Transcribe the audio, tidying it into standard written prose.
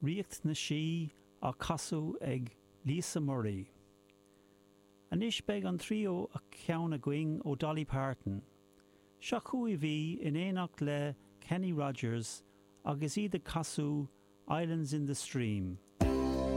Ríocht na Sí á casadh ag Lisa Murray. Anois beidh an tríú ceann againn ó Dolly Parton. Seo chugaibh í in éineacht le Kenny Rogers agus iad ag casadh Islands in the Stream.